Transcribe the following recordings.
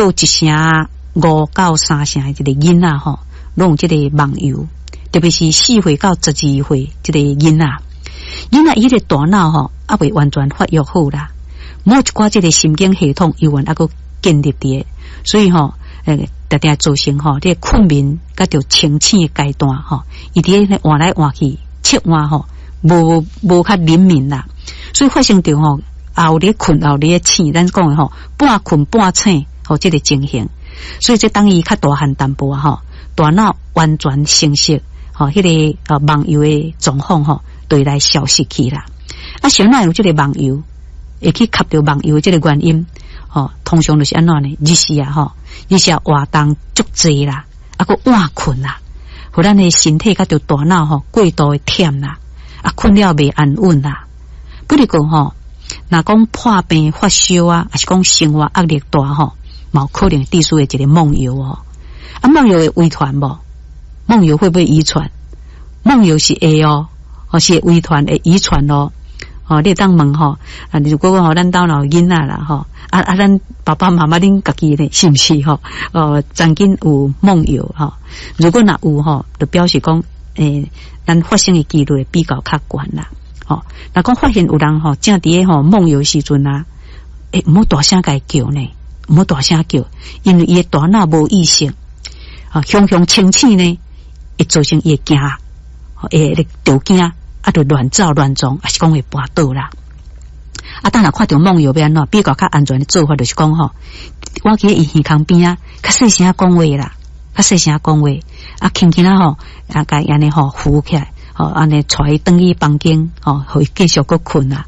到1成5到3成的這個囡仔吼，攏有這個夢遊，特別是4歲到12歲這個囡仔，囡仔伊個大腦吼，猶未完全發育好啦，某一寡這個神經系統猶原猶閣建立佇，所以吼，定定造成吼，這個睏眠佮著清醒的階段吼，伊佇咧換來換去，切換吼，無無較靈敏啦，所以發生著吼，猶咧睏，猶咧醒，咱講的吼，半睏半醒，吼，這個情形。所以這當伊較大漢淡薄吼，大腦完全成熟，吼，彼個夢遊的狀況吼，就會來消失去啦。啊，啥人有這個夢遊，會去合著夢遊這個原因，吼，通常就是按怎呢？日時啊，吼，日時活動足濟啦，啊，閣晚睏啦，予咱的身體佮著大腦吼過度的忝啦，啊，睏了袂安穩啦。不如講吼，若講破病發燒啊，抑是講生活壓力大吼，嘛有可能致使的一個夢遊哦。啊，夢遊會遺傳無？夢遊會不會遺傳？夢遊是會哦，哦是會遺傳會遺傳哦。哦，你會當問吼，啊，如果講吼，咱兜若有囡仔啦吼，啊啊，咱爸爸媽媽恁家己呢，是毋是吼？哦，曾經有夢遊吼，如果若有吼，就表示講，咱發生的幾率會比較較懸啦。吼，若講發現有人吼，正佇咧吼夢遊時陣啊，毋好大聲共伊叫呢，毋好大聲叫，因為伊的大腦無意識，啊，雄雄清醒呢，會造成伊會驚，會著驚。啊，就亂走亂撞，抑是講會跋倒啦。啊，當若看著夢遊欲按怎，比較較安全的做法就是講吼，我去伊耳孔邊仔，較細聲講話啦，較細聲講話，啊，輕輕仔吼，啊，共伊按呢吼扶起來，吼，按呢帶伊轉去房間，吼，予伊繼續閣睏啦。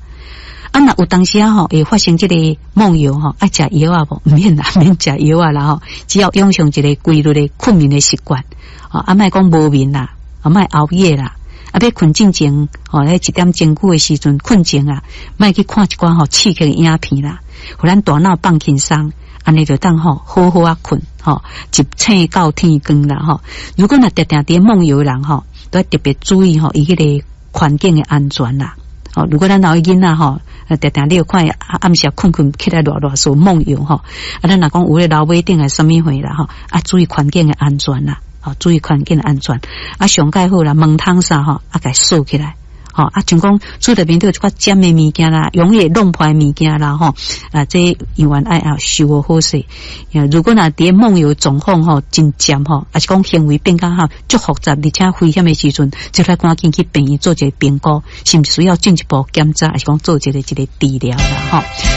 啊，若有當時仔吼會發生這個夢遊吼，愛食藥仔無？毋免啦，免食藥仔啦吼，只要養成一個規律的睏眠的習慣，吼，啊，莫講無眠啦，啊，莫熬夜啦。啊，欲睏進前，吼，咧一點鐘久的時陣睏前啊，莫去看一寡吼刺激的影片啦，予咱大腦放輕鬆，按呢就當吼好好仔睏，吼，一醒到天光啦吼。如果若定定佇夢遊的人吼，都愛特別注意吼，伊彼個環境的安全啦。吼，如果咱老囡仔吼，定定你有看暗時睏睏起來囉囉嗦夢遊吼，啊，咱若講有咧樓尾頂還是啥物貨啦吼，啊，注意環境的安全啦。吼，注意環境的安全。啊，上蓋好啦，門窗啥吼，啊，共鎖起來。吼，啊，像講厝內面都有一寡尖的物件啦，容易弄破的物件啦，吼，啊，這猶原愛啊收予好勢。如果若佇夢遊狀況吼真尖吼，抑是講行為變較吼足複雜，而且危險的時陣，就來趕緊去病院做一個評估，是毋是需要進一步檢查，抑是講做一個這個治療啦，吼。